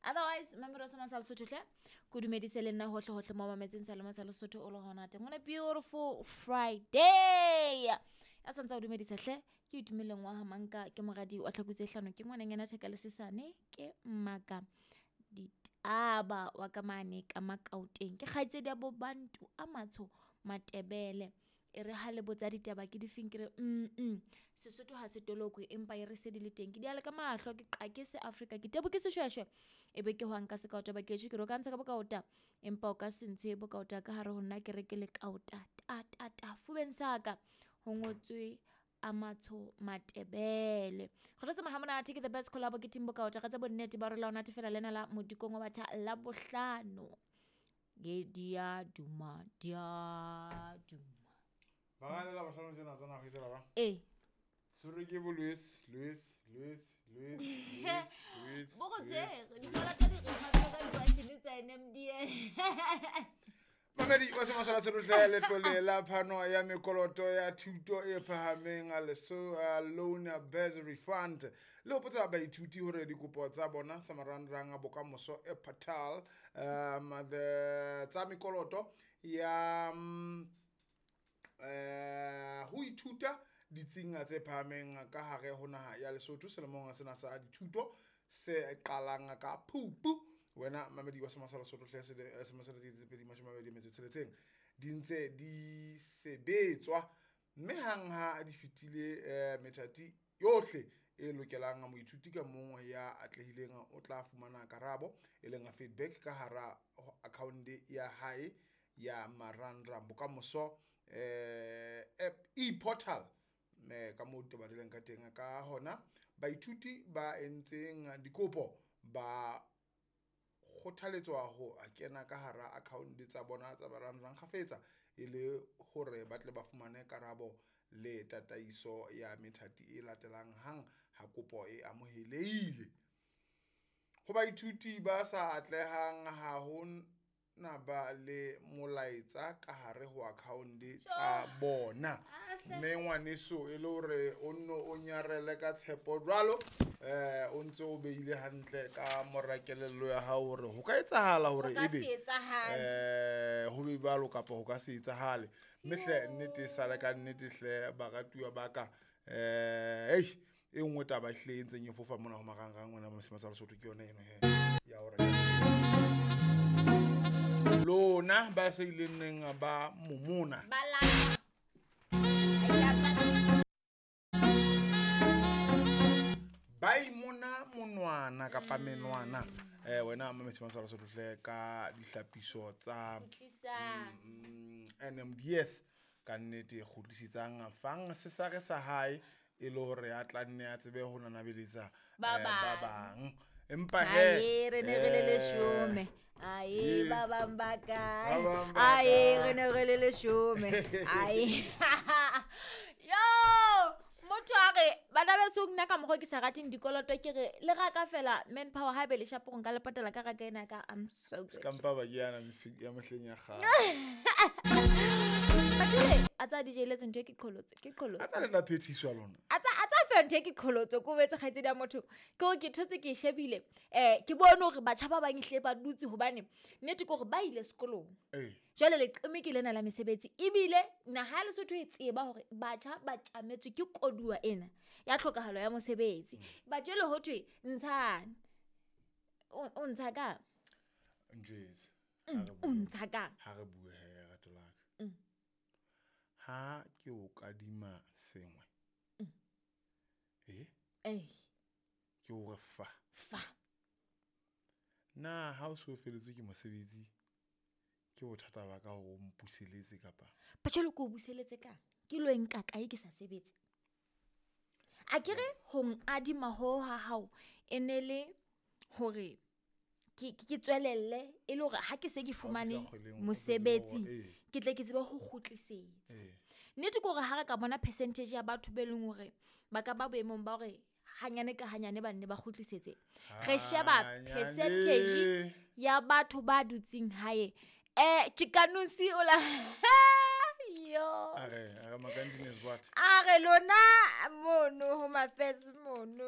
Otherwise, mamelo sa masa Lesotho hle. Ke dumedise le nna hohle hohle mo mametseng sa lema sa Lesotho o le hona teng. On a beautiful Friday. Ya santsa o dumedisa hle. Ke itumeleng wa ha manka ke moradi wa tlhakutse hlano ke ngwananyana theka le sesane ke mmaka ditaba wa ka mane ka Makaoteng. Ke kgaitsedi ya bo Bantu a matsho Matebele. E re ha le botsa ditaba ke difeng ke re Sesotho ha se tolokwe empa e re se di le teng. Ke diale ka mahlo ke qake se Afrika ke tebo ke seshweshwe. E be ke hwang ka sekaota ba ketjho ke re o ka ntsha ka bokaota empa o ka se ntshe bokaota ka hare ho nna ke re ke le kaota ta ta ta fubeng sa ka ho ngotswe a matsho Matebele. Re tlo tsamaya ha monate ke the best collabo ke team bokaota re tse bonnete ba re la o natefela lena la modikong wa batjha la bohlano. Ge dia duma dia duma. Ba la bohlano tsena tsa nago tsela ba. Eh. Tshwerwe ke bo Louis, Louis, Louis, Louis, Louis, Louis. Bo go tshwere dikola tsa direma tsa ka tsa NMDA. Mamedi wa Semasala Tsherotle letlole la phano ya mekoloto ya thuto e phahameng a leso a loan bursary fund le hopotsa baithuti hore dikopo tsa bona tsa marangrang a bokamoso e portal the tsa mekoloto ya ho ithuta ditsing tse phahameng ka hare ho naha ya Lesotho selemong sena sa dithuto se qalang ka Phupu. Wena mamedi wa Semasala Lesotho hle semasala tse 2026 di ntse di sebetswa mme hang ha di fetile methati yohle e lokelang moithuti ka mong ya atlehileng o tla fumana karabo e leng feedback ka hara account ya hae ya marangrang bokamoso app e-portal me ka moo taba di leng ka teng ka hona baithuti ba entseng dikopo ba kgothaletswa ho kena ka hara account tsa bona tsa marangrang kgafetsa e le hore ba tle ba fumane karabo le tataiso ya methati e latelang hang ha kopo e amohelehile. Ho baithuti ba sa atlehang ha ho na ba le molaetsa ka hare ho account tsa bona. Mme ngwaneso e le hore o nno o nyarele ka tshepo jwalo o ntse o beile hantle ka mora kelello ya hao hore ho ka etsahala hore ebe ho be jwalo kapa ho ka se etsahale. Mme hle nnete e sale ka nnete hle baratuwa ba ka e nngwe taba hle e ntseng e fofa mona ho marangrang wena Semasala Lesotho ke yona eno he ya hore lona ba se ileng neng ba momona ba imona monwana kapa menwana wena Semasala Lesotho hle ka dihlapiso tsa NMDS ka nnete kgutlisetsang fang sesare sa hae e le hore a tla nne a tsebe ho nanabeletsa ba bang. Empa he re ne re le leshome ae ba bang ba kae ae re ne re le leshome ae yo motho a re bana beso nna ka mokgwa ke sa rateng dikoloto ke re le raka fela manpower ha be le shapo nka le patala ka raka ena ka I'm so good. Skampa ba ke yana ya mehleng ya kgale. A tsa DJ letse ntho e ke qholotso ke qholotso. A tsa le tla phethiswa lona. A tsa fe ntho e ke qholotso ko betse kgaitsedi ya motho ke hore ke thotse ke shebile ke bone hore batjha ba bang hle ba dutse hobane nnete ke hore ba ile sekolong. Jwale leqeme ke lena la mesebetsi ebile naha ya Lesotho e tseba hore batjha ba tjametswe ke koduwa ena ya tlhokahalo ya mosebetsi. Ba jwale ho thwe ntshang o ntsha ka Njwetse o ntsha ka ha re bue he rato la ka. Ha ke o kadima sengwe ke o re fa fa na ha o so feletswe ke mosebetsi ke bothata ba ka hore o mpuseletse kapa ba jwale ke o buseletse ka ke lo nka kae ke sa sebetse a ke re ho adima ho ha hao e ne le hore ke tswelelle e le hore ha ke se ke fumane mosebetsi ke tle ke tsebe ho kgutlisetsa. Nnete ke hore ha re ka bona percentage ya batho be leng hore ba ka ba boemong ba hore hanyane ka hanyane ba nne ba kgutlisetse re sheba percentage ya batho ba dutseng hae Chikanusi ola yo a re makantine is what a re lona mono ho mafes mono.